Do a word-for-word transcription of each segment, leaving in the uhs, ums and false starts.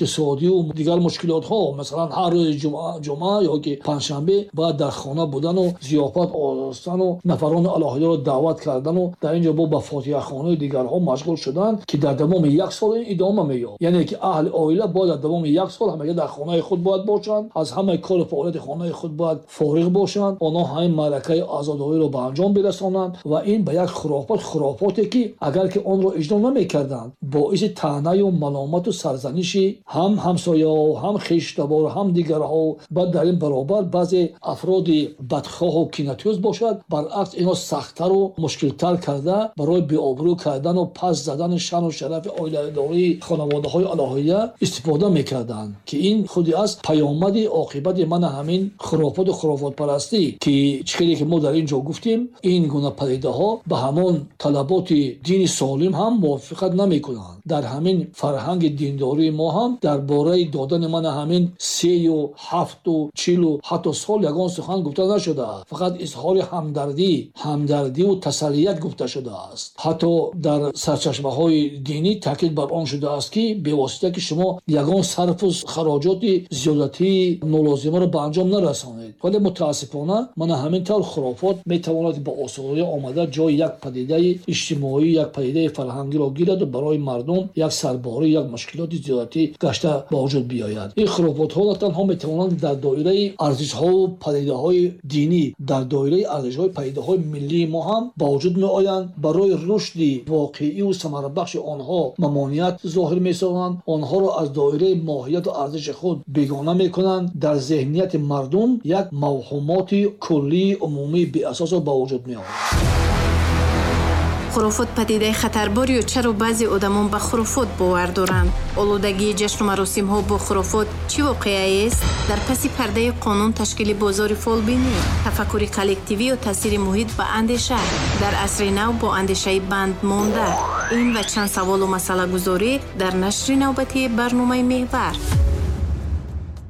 иқтисодӣ ва дигар мушкилотҳо, масалан ҳар рӯзи ҷумъа ҷумъа ё ки панҷшанбе бояд дар хона будан ва зиёфат оростан ва нафарони алоҳидаро даъват кардан ва дар инҷо бо ба фотиҳахонӣ ва дигарҳо машғул шудан, ки дар давоми як сол ин идома меёбад. Яъне ки аҳли оила бояд дар давоми як сол ҳамагӣ дар хонаи худ бояд бошанд, аз ҳамаи кору фаъолияти хонаи худ бояд фориғ бошанд, онҳо ҳамин маъракаи азодориро ба анҷом бирасонанд ва ин ба як хурофот, хурофоте ки агар ки онро иҷро намекарданд, боиси таънаю маломату сарзаниши ҳам ҳамсояҳо, ҳам хештабор, ҳам дигарҳо. Баъд дар ин баробар баъзе афроди бадхоҳу кинатӯз бошад, баръакс инро сахттару мушкилтар карда барои беобрӯ кардану пас задани шаъну шарафи оиладории хонаводаҳои алоҳида истифода мекарданд, ки ин худи аст паёмади оқибати мана ҳамин хурофоту хурофотпарастӣ, ки чӣ хеле ки мо дар ин ҷо гуфтем, ин гуна падидаҳо ба ҳамон талаботи дини солим ҳам мувофиқат намекунанд. Дар ҳамин фарҳанги диндории мо ҳам дар бораи додани мана ҳамин сею ҳафту чилу ҳатто сол ягон сухан гуфта нашудааст. Фақат изҳори ҳамдардӣ, ҳамдардиву тасаллият гуфта шудааст. Ҳатто дар сарчашмаҳои динӣ таъкид бар он шудааст, ки бевосита ки шумо ягон сарфу хароҷоти зиёдатии нолозимаро ба анҷом нарасонед. Вале мутаассифона мана ҳамин тавр хурофот метавонад ба осонӣ омада ҷои як падидаи иҷтимоӣ, як падидаи фарҳангиро гирад ва барои мардум як сарборӣ, як мушкилоти зиёдатӣ гашта ба вуҷуд биёяд. Ин хурофотҳо на танҳо метавонанд дар доираи арзишҳову падидаҳои динӣ, дар доираи арзишҳои падидаҳои миллии мо ҳам ба вуҷуд меоянд. Барои рушди воқеиву самарабахши онҳо мамоният зоҳир месозанд, онҳоро аз доираи моҳияту арзиши худ бегона мекунанд, дар зеҳнияти мардум як мавҳумоти куллии умумии беасосро ба вуҷуд меоранд. Хурофот падидаи хатарбор ё чаро баъзе одамон ба хурофот бовар доранд? Олудагии ҷашну маросимҳо бо хурофот чӣ воқеаест? Дар паси пардаи қонун ташкили бозори фолбинӣ, тафаккури коллективӣ ё таъсири муҳит ба андеша, дар асри нав бо андешаи банд монда. Ин ва чанд саволу масъалагузорӣ дар нашри навбатии барномаи «Меҳвар».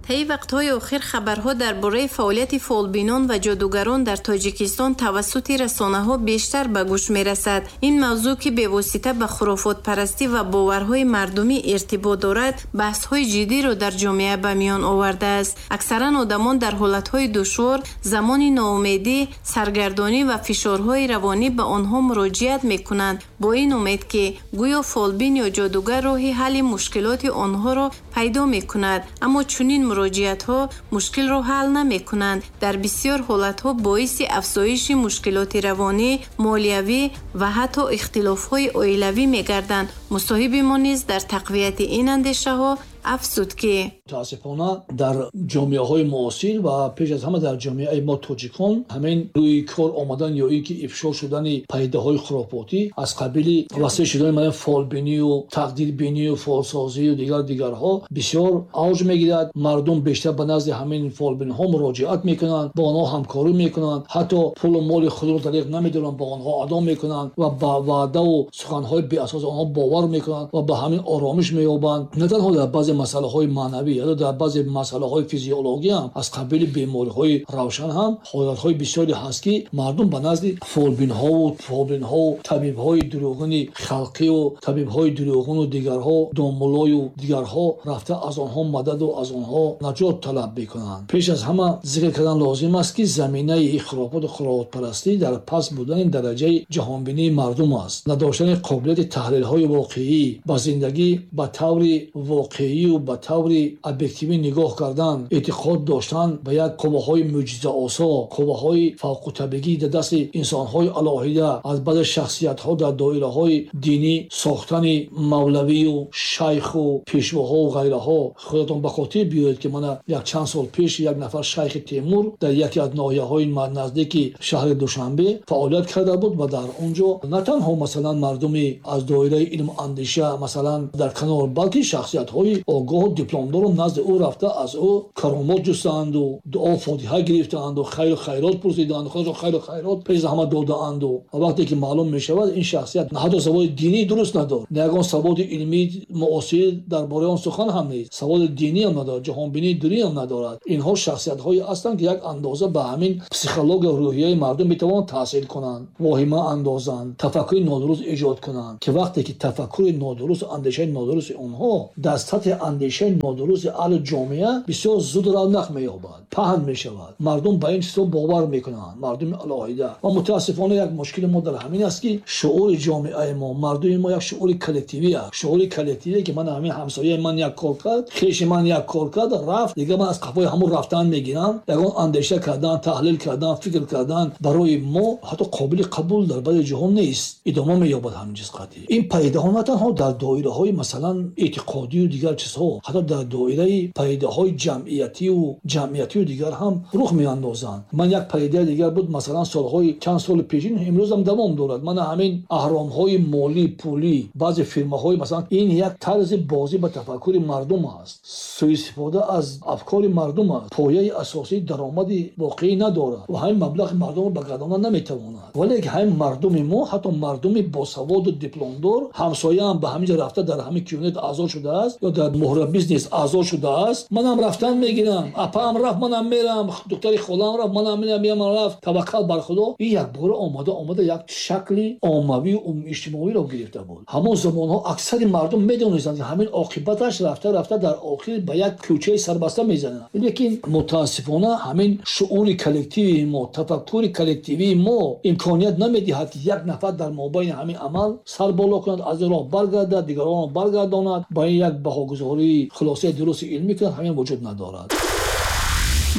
Таи вақтҳои охир хабарҳо дар бораи фаъолияти фолбинон ва ҷодугарон дар Тоҷикистон тавассути расонаҳо бештар ба гӯш мерасад. Ин мавзӯъ, ки бевосита ба хурофотпарастӣ ва боварҳои мардумӣ иртибот дорад, баҳсҳои ҷиддиро дар ҷомеа ба миён овардааст. Аксаран одамон дар ҳолатҳои душвор, замони ноумедӣ, саргардонӣ ва фишорҳои равонӣ ба онҳо муроҷиат мекунанд, бо ин умед, ки гӯё фолбин ё ҷодугар роҳи ҳалли мушкилоти онҳоро пайдо мекунад. Аммо чунин муроҷиатҳо мушкилро ҳал намекунанд, дар бисёр ҳолатҳо боиси афзоиши мушкилоти равонӣ, молиявӣ ва ҳатто ихтилофҳои оилавӣ мегарданд. Мусоҳиби мо низ дар тақвияти ин андешаҳо афзуд, ки мутаассифона дар ҷомеаҳои муосир ва пеш аз ҳама дар ҷомеаи мо тоҷикон ҳамин рӯи кор омадан ё ин ки ифшо шудани падидаҳои хурофотӣ аз қабили васеъ шудани мана фолбинию тақдирбинию фолсозию дигар дигарҳо бисёр авҷ мегирад. Мардум бештар ба назди ҳамин фолбинҳо муроҷиат мекунанд, бо онҳо ҳамкорӣ мекунанд, ҳатто пулу моли худро дариқ намедоранд, ба онҳо адо мекунанд ва ба ваъдаву суханҳои беасоси онҳо бовар мекунанд ва ба ҳамин оромиш меёбанд. На танҳо дар баъзе масъалаҳои маънавӣ, ҳатто дар баъзе масъалаҳои физиологӣ ҳам аз қабили бемориҳои равшан ҳам ҳолатҳои бисёре ҳаст, ки мардум ба назди фолбинҳову фолбинҳову табибҳои дурӯғини халқиву табибҳои дурӯғину дигарҳо, домуллою дигарҳо рафта аз онҳо мададу аз онҳо наҷот талаб мекунанд. Пеш аз ҳама зикр кардан лозим аст, ки заминаи хурофоту хурофотпарастӣ дар паст будани дараҷаи ҷаҳонбинии мардум аст. Надоштани қобилияти таҳлилҳои воқеӣ, ба зиндагӣ ба таври воқеӣ ба таври объективӣ нигоҳ кардан, эътиқод доштан ба як қувваҳои мӯъҷизаосо, қувваҳои фавқутабиӣ дар дасти инсонҳои алоҳида, аз баъзе шахсиятҳо дар доираҳои динӣ сохтани мавлавию шайху пешвоҳову ғайраҳо. Худатон ба хотир биёед, ки мана як чанд сол пеш як нафар шайхи Темур дар яке аз ноҳияҳои наздики шаҳри Душанбе фаъолият карда буд ва дар он ҷо на танҳо масалан мардуми аз доираи илму андеша масалан дар канор, балки шахсиятҳои огоҳу дипломдору назди ӯ рафта аз ӯ каромот ҷустанду дуо фотиҳа гирифтаанду хайру хайрот пурсидаанду худашон хайру хайрот пеш аз ҳама додаанду. Ва вақте ки маълум мешавад, ин шахсият ҳатто саводи динӣ дуруст надорад, на ягон саводи илмии муосир дар бораи он сухан ҳам нест, саводи динӣ ҳам надорад, ҷаҳонбинии динӣ ҳам надорад. Инҳо шахсиятҳое ҳастанд, ки як андоза ба ҳамин психология рӯҳияи мардум метавонанд таъсир кунанд, воҳима андозанд, тафаккури нодуруст эҷод кунанд, ки вақте ки тафаккури нодуруст, андешаи нодурусти онҳо дар сатҳи андешаи нодурусти аҳли ҷомеа бисёр зуд равнақ меёбад, паҳн мешавад. Мардум ба ин чизҳо бовар мекунанд, мардуми алоҳида. Ва мутаассифона як мушкили мо дар ҳамин аст, ки шуури ҷомеаи мо, мардуми мо як шуури коллективӣ аст. Шуури коллективие ки ман ҳамин ҳамсояи ман як кор кард, хеши ман як кор кард, рафт, дигар ман аз қафои ҳамон рафтан мегирам. Ягон андеша кардан, таҳлил кардан, фикр кардан барои мо ҳатто қобили қабул дар баъзе ҷоҳо нест. Идома меёбад ҳамин чиз қатъӣ. Ин падидаҳо на танҳо дар доираҳои масалан эътиқодию дигар чизҳо, ҳатто дар доираи падидаҳои ҷамъиятию ҷамъиятию дигар ҳам рух меандозанд. Ман як падидаи дигар буд, масалан солҳои чанд соли пешин, имрӯзам давом дорад. Ман ҳамин аҳромҳои молӣ, пулӣ, баъзе фирмаҳои масалан, ин як тарзи бозӣ ба тафаккури мардум аст, суистифода аз афкори мардум аст, пояи асосии даромади воқеӣ надорад ва ҳамин маблағи мардумро ба гардона наметавонад. Вале ҳамин мардуми мо, ҳатто мардуми босаводу дипломдор, ҳамсояам ба ҳамин ҷо рафта дар ҳамин кюнет аъзо шудааст ё дар муҳра бизнес аъзо шудааст, манам рафтан мегирам, апаам рафт, манам мерам, духтари холаам рафт, манам мерам, рафт, таваккал бар Худо. Ин якбора омада омада як шакли оммавию иҷтимоиро гирифта буд. Ҳамон замонҳо аксари мардум медонистанд, ки ҳамин оқибаташ рафта рафта дар охир ба як кӯчаи сарбаста мезанад. Лекин мутаассифона ҳамин шуури коллективии мо, тафаккури коллективии мо имконият намедиҳад, ки як нафар дар мобайни ҳамин амал сар боло кунад, аз ин роҳ баргардад, дигаронро баргардонад, ба ин як баҳогузории хулосаи дурусти илмӣ кунад, ҳамин вуҷуд надорад.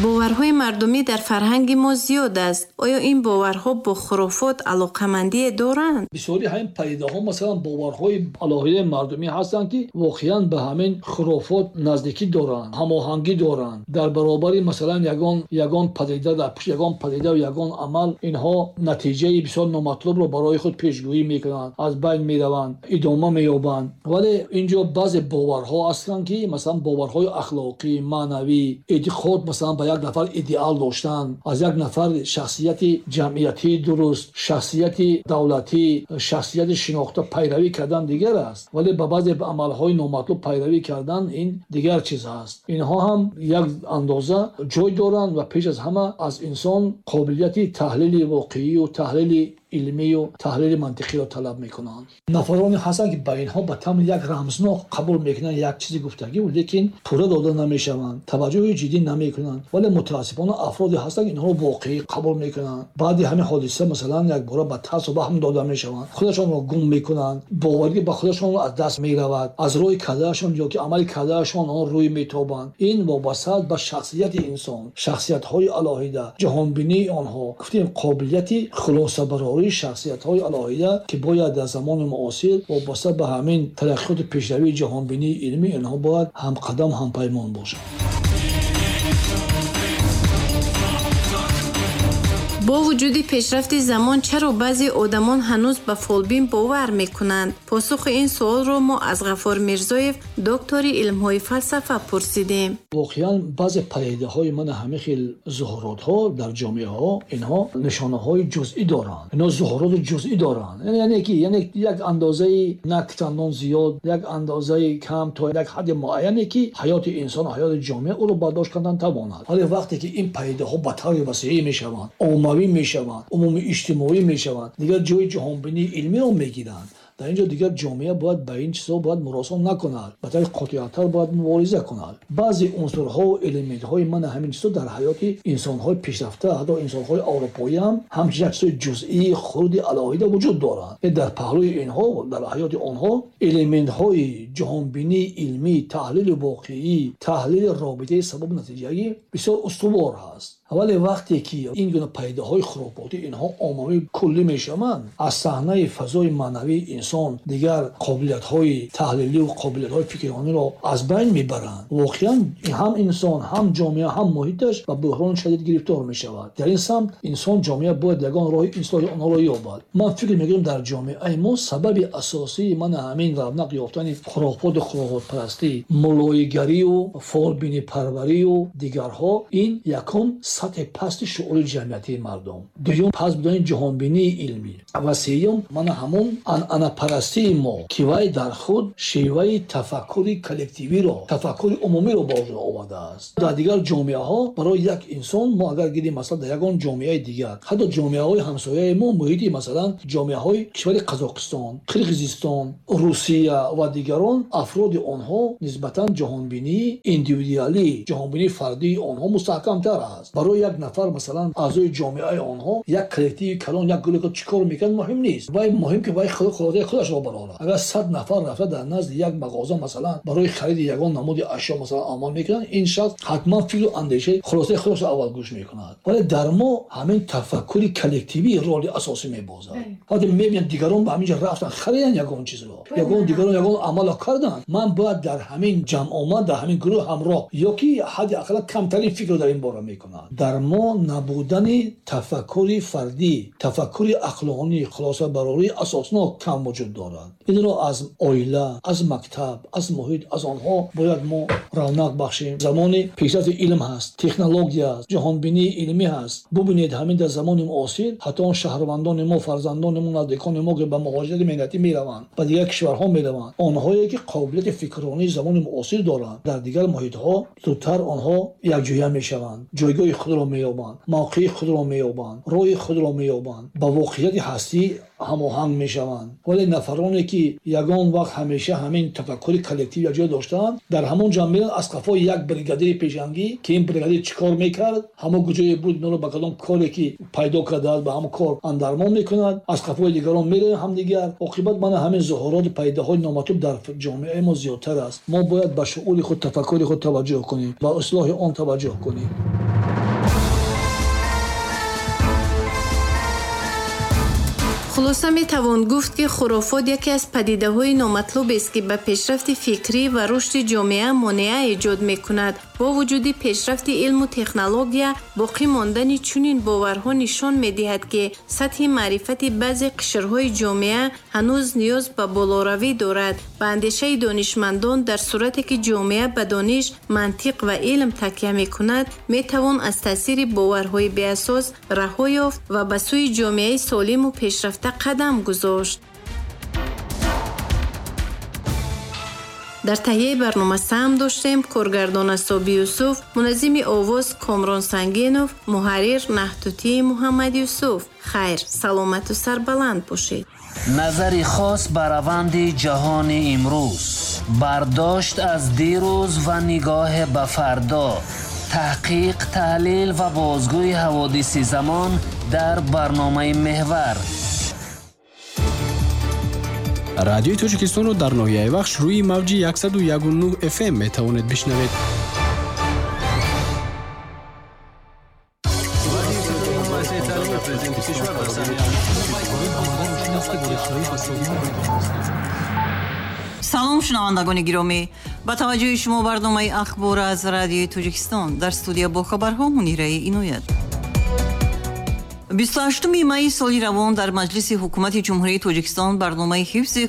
Боварҳои мардумӣ дар фарҳанги мо зиёд аст. Оё ин боварҳо бо хурофот алоқамандие доранд? Бисёри ҳамин падидаҳо масалан боварҳои алоҳидаи мардумӣ ҳастанд, ки воқеан ба ҳамин хурофот наздикӣ доранд, ҳамоҳангӣ доранд. Дар баробари масалан ягон ягон падида, дар пушти ягон падида ва ягон амал инҳо натиҷаи бисёр номатлубро барои худ пешгӯӣ мекунанд, аз байн мераванд, идома меёбанд. Вале инҷо баъзе боварҳо ҳастанд, ки масалан боварҳои ахлоқӣ, маънавӣ, эътиқод масалан ба як нафар идеал доштан, аз як нафар шахсияти ҷамъиятии дуруст, шахсияти давлатӣ, шахсияти шинохта пайравӣ кардан дигар аст. Вале ба баъзе амалҳои номатлуб пайравӣ кардан ин дигар чиз аст. Инҳо ҳам як андоза ҷой доранд ва пеш аз ҳама аз инсон қобилияти таҳлили воқеию таҳлили илмию таҳлили мантиқиро талаб мекунанд. Нафароне ҳастанд, ки ба инҳо ба тамри як рамзнок қабул мекунанд як чизи гуфтагӣ, лекин пурра дода намешаванд, таваҷҷӯҳи ҷиддӣ намекунанд. Вале мутаассифона афроде ҳастанд, ки инҳоро воқеӣ қабул мекунанд. Баъди ҳамин ҳодиса масалан якбора ба тарсу ваҳм дода мешаванд, худашонро гум мекунанд, боварӣ ба худашонро аз даст меравад, аз рӯи кардаашон ё ки амали кардаашон он рӯй метобанд. Ин вобаста ба шахсияти инсон, шахсиятҳои алоҳида, ҷаҳонбинии онҳо, гуфтем қобилияти хулосабарорӣ шахсиятҳои алоҳида, ки бояд дар замони муосир вобаста ба ҳамин тараққиёту пешравии ҷаҳонбинии илмӣ инҳо бояд ҳамқадам, ҳампаймон бошанд. Бо вуҷуди пешрафти замон чаро баъзе одамон ҳанӯз ба фолбин бовар мекунанд? Посухи ин суолро мо аз Ғаффор Мирзоев, доктори илмҳои фалсафа пурсидем. Воқеан баъзе падидаҳои ман ҳамин хел зуҳуротҳо дар ҷомеаҳо инҳо нишонаҳои ҷузъӣ доранд, инҳо зуҳуроти ҷузъӣ доранд. Яъне ки яъне як андозаи на чандон зиёд, як андозаи кам то як ҳадди муайяне ки ҳаёти инсон, ҳаёти ҷомеа ӯро бардошт кардан тавонад. Вале вақте ки ин падидаҳо ба таври васеъ мешаванд, оммавӣ мешаванд, умумӣ иҷтимоӣ мешаванд, дигар ҷои ҷаҳонбинии илмиро мегиранд. Дар инҷо дигар ҷомеа бояд ба ин чизҳо бояд муросон накунад, ба таври қотеаттар бояд мубориза кунад. Баъзе унсурҳо ва элементҳои ман ҳамин чизҳо дар ҳаёти инсонҳои пешрафта, ҳатто инсонҳои аврупоӣ ҳам ҳамчун як чизҳои ҷузъии хурди алоҳида вуҷуд доранд. Дар паҳлӯи инҳо, дар ҳаёти онҳо элементҳои ҷаҳонбинии илмӣ, таҳлили воқеӣ, таҳлили робитаи сабабу натиҷагӣ бисёр устувор ҳаст. Вале вақте ки ин гуна падидаҳои хурофотӣ инҳо оммавӣ куллӣ мешаванд, аз саҳнаи фазои маънавии инсон дигар қобилиятҳои таҳлилӣ ва қобилиятҳои фикрониро аз байн мебаранд. Воқеан ҳам инсон, ҳам ҷомеа, ҳам муҳиташ ба буҳрони шадид гирифтор мешавад. Дар ин самт инсон, ҷомеа бояд ягон роҳи ислоҳи онҳоро ёбад. Ман фикр мекунам дар ҷомеаи мо сабаби асосии ман ҳамин равнақ ёфтани хурофоту хурофотпарастӣ, мулоигарию фолбинипарварию дигарҳо ин якум сатҳи пасти шуури ҷамъиятии мардум, дуюм паст будани ҷаҳонбинии илмӣ ва сеюм мана ҳамон анъана Бегонапарастии мо, ки вай дар худ шеваи тафаккури коллективиро, тафаккури умумиро ба вуҷуд овардааст. Дар дигар ҷомеаҳо барои як инсон, мо агар гирем масалан дар ягон ҷомеаи дигар, ҳатто ҷомеаҳои ҳамсояи мо, муҳити масалан ҷомеаҳои кишвари Қазоқистон, Қирғизистон, Русия ва дигарон, афроди онҳо нисбатан ҷаҳонбинии индивидуалӣ, ҷаҳонбинии фардии онҳо мустаҳкамтар аст. Барои як нафар масалан аъзои ҷомеаи онҳо як коллективи калон, як гурӯҳ чӣ кор мекунад муҳим нест. Вай муҳим ки вай хулосаи худашро барорад. Агар сад нафар рафта дар назди як мағоза масалан барои хариди ягон намуди ашё масалан амал мекунанд, ин шахс ҳатман фикру андешаи хулосаи худашро аввал гӯш мекунад. Вале дар мо ҳамин тафаккури коллективӣ роли асосӣ мебозад. Вақте мебинанд дигарон ба ҳамин ҷо рафтан хариданд ягон чизро, ягон дигарон ягон амалро карданд, ман бояд дар ҳамин ҷамъомад, дар ҳамин гурӯҳ ҳамроҳ ё ки ҳадди ақал камтарин фикрро дар ин бора мекунад. Дар мо набудани тафаккури фардӣ, тафаккури ақлонӣ, хулосабарории асоснок кам вуҷуд дорад. Инро аз оила, аз мактаб, аз муҳит, аз онҳо бояд мо равнақ бахшем. Замони пешрафти илм ҳаст, технология аст, ҷаҳонбинии илмӣ ҳаст. Бубинед ҳамин дар замони муосир ҳатто он шаҳрвандони мо, фарзандони мо, наздикони мо ки ба муҳоҷирати меҳнатӣ мераванд, ба дигар кишварҳо мераванд, онҳое ки қобилияти фикронии замони муосир доранд, дар дигар муҳитҳо зудтар онҳо якҷоя мешаванд, ҷойгоҳи худро меёбанд, мавқеи худро меёбанд, роҳи худро меёбанд, ба воқеияти ҳастӣ ҳамоҳанг мешаванд. Вале нафароне ки ягон вақт ҳамеша ҳамин тафаккури коллектив якҷоя доштаанд, дар ҳамон ҷамъ мераванд аз қафои як бригадири пешангӣ ки ин бригадир чӣ кор мекард, ҳамон куҷое буд, инро ба кадом коре ки пайдо кардааст ба ҳамон кор андармон мекунад, аз қафои дигарон мераванд ҳамдигар. Оқибат мана ҳамин зуҳуроти пайдаҳои номатлуб дар ҷомеаи мо зиёдтар аст. Мо бояд ба шуури худ, тафаккури худ таваҷҷӯҳ кунем, ба ислоҳи он таваҷҷӯҳ кунем. Хулоса метавон гуфт, ки хурофот яке аз падидаҳои номатлубест, ки ба пешрафти фикрӣ ва рушди ҷомеа монеа эҷод мекунад. Бо вуҷуди пешрафти илму технология, боқӣ мондани чунин боварҳо нишон медиҳад, ки сатҳи маърифати баъзе қишрҳои ҷомеа ҳанӯз ниёз ба болоравӣ дорад. Ба андешаи донишмандон, дар сурате ки ҷомеа ба дониш, мантиқ ва илм такя мекунад, метавон аз таъсири боварҳои беасос раҳо ёфт ва ба сӯи ҷомеаи солиму пешрафта қадам гузошт. Дар таҳияи барнома саҳм доштем коргардон Асоби Юсуф, муназзими овоз Комрон Сангинов, муҳаррир Наҳтутии Муҳаммад Юсуф. Хайр, саломату сарбаланд бошед. Назари хос ба раванди ҷаҳони имрӯз, бардошт аз дирӯз ва нигоҳ ба фардо, таҳқиқ, таҳлил ва бозгӯи ҳаводиси замон дар барномаи Меҳвар. Радиои Тоҷикистонро дар ноҳияи Вахш рӯи мавҷи яксаду яку нӯҳ эф эм метавонед бишнавед. Салом, шунавандагони гиромӣ. Ба таваҷҷӯҳи шумо барномаи ахбор аз Радиои Тоҷикистон. Дар студия бо хабарҳо Мунираи Иноят. бисту ҳаштуми майи соли равон дар Маҷлиси ҳукумати Ҷумҳурии Тоҷикистон барномаи ҳифзи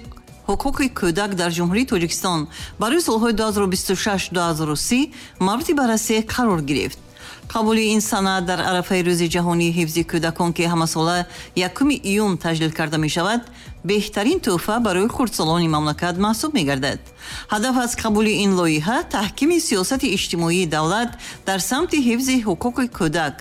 ҳуқуқи кӯдак дар Ҷумҳурии Тоҷикистон барои солҳои ду ҳазору бисту шаш - ду ҳазору си мавриди баррасӣ қарор гирифт. Қабули ин санад дар арафаи рӯзи ҷаҳонии ҳифзи кӯдакон, ки ҳамасола якуми июн таҷлил карда мешавад, беҳтарин тӯҳфа барои хурдсолони мамлакат маҳсуб мегардад. Ҳадаф аз қабули ин лоиҳа таҳкими сиёсати иҷтимоии давлат дар самти ҳифзи ҳуқуқи кӯдак,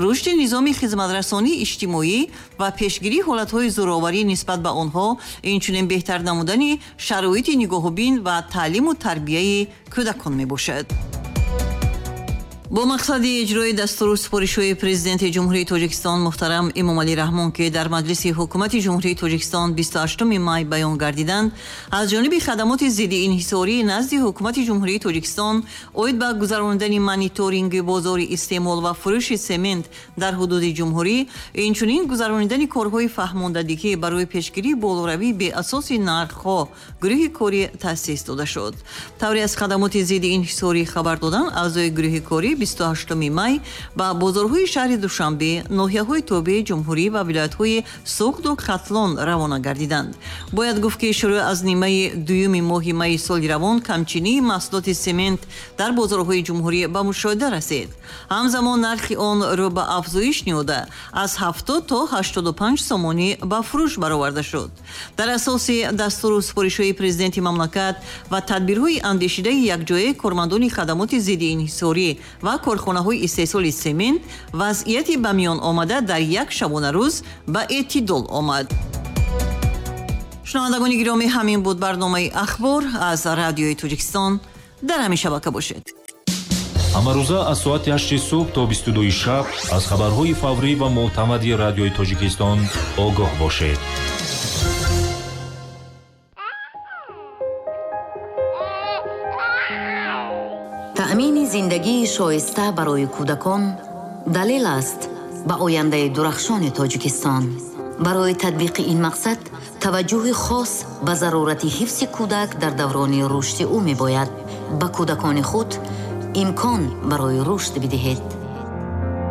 рушди низоми хизматрасонии иҷтимоӣ ва пешгирии ҳолатҳои зӯроварӣ нисбат ба онҳо, инчунин беҳтар намудани шароити нигоҳубин ва таълиму тарбияи кӯдакон мебошад. Бо мақсади иҷрои дастуру супоришҳои Президенти Ҷумҳурии Тоҷикистон муҳтарам Эмомалӣ Раҳмон, ки дар Маҷлиси ҳукумати Ҷумҳурии Тоҷикистон бисту ҳаштуми май баён гардиданд, аз ҷониби хадамоти зидди инҳисорӣ назди ҳукумати Ҷумҳурии Тоҷикистон оид ба гузаронидани мониторинги бозори истеъмол ва фурӯши семент дар ҳудуди ҷумҳурӣ, инчунин гузаронидани корҳои фаҳмондадиҳӣ барои пешгирии болоравии беасоси нархҳо гурӯҳи корӣ таъсис дода шуд. Тавре аз хадамоти зидди инҳисорӣ хабар доданд, аъзои гурӯҳи корӣ бисту ҳаштуми май ба бозорҳои шаҳри Душанбе, ноҳияҳои тобеи ҷумҳурӣ ва вилоятҳои Суғду Хатлон равона гардиданд. Бояд гуфт, ки шурӯъ аз нимаи дуюми моҳи майи соли равон камчинии маҳсулоти семент дар бозорҳои ҷумҳурӣ ба мушоҳида расид. Ҳамзамон нархи он рӯ ба афзоиш ниҳода аз ҳафтод то ҳаштоду панҷ сомонӣ ба фурӯш бароварда шуд. Дар асоси дастуру супоришҳои президенти мамлакат ва тадбирҳои андешидаи якҷояи кормандони хадамоти зидди инҳисорӣ ва корхонаҳои истеҳсоли семент, вазъияти ба миён омада дар як шабонарӯз ба эътидол омад. Шунавандагони гиромӣ, ҳамин буд барномаи ахбор аз радиои Тоҷикистон. Дар ҳамин шабака бошед. Ҳамарӯза аз соати ҳашти субҳ то бисту дуи шаб аз хабарҳои фаврӣ ва мӯътамади радиои Тоҷикистон огоҳ бошед. Таъмини зиндагии шоиста барои кӯдакон далел аст ба ояндаи дурахшони Тоҷикистон. Барои татбиқи ин мақсад таваҷҷӯҳи хос ба зарурати ҳифзи кӯдак дар даврони рушди ӯ мебояд. Ба кӯдакони худ имкон барои рушд бидиҳед.